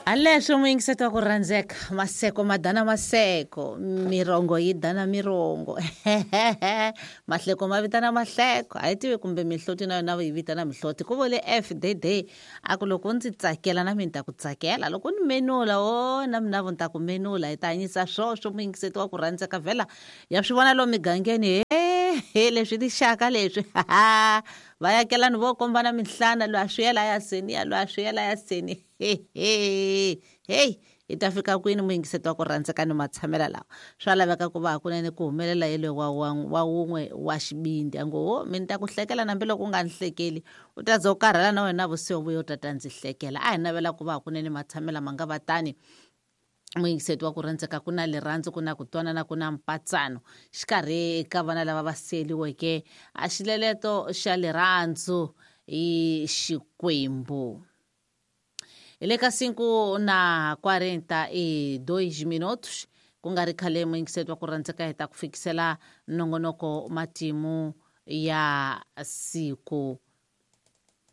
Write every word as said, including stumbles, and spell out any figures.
Haleswo muyingiseti wa ku rhandzeka, maseko ma dana maseko, mirongo yi dana mirongo, mahleko ma vitana mahleko, a yi tivi kumbe mihloti na yona yi vitana mihloti. Ku vule F D D a ku loko ndzi tsakela na mina ni ta ku tsakela, loko ni menula o na mina vo ni ta ku menula. Hi ta hanyisa swoswo muyingiseti wa ku rhandzeka, vhela ya swi vona lomu migangeni he he leswi tixaka leswi vayakelani vo kombana minhlana, loyi a swi yela ya seni ya loyi a swi yela ya seni. Heyi hi ta fika kwini muyingiseti wa ku rhandzeka ni matshamela lawa? Swa laveka ku va hakunene ku humelela yelwe wa wa wa wun'we wa xivindzi a ngo ho mi ni ta ku hlekela nambi loko u nga ni hlekeli u ta za u karhala na wena vusiku vuya u ta ta ndzi hlekela. A hi navela ku va hakunene matshamela ma nga va tani muyingiseti wa ku rhandzeka, ku na lirhandzu, ku na ku twanana, ku na mpatsano xikarhi ka vana lava va seliweke a xileleto xa lirhandzu hi Xikwembu. Hi le ka cinco na quarenta e dois minutos ku nga ri khale muyingiseti wa ku rhandzeka hi ta ku fikisela nongonoko matimu ya siku.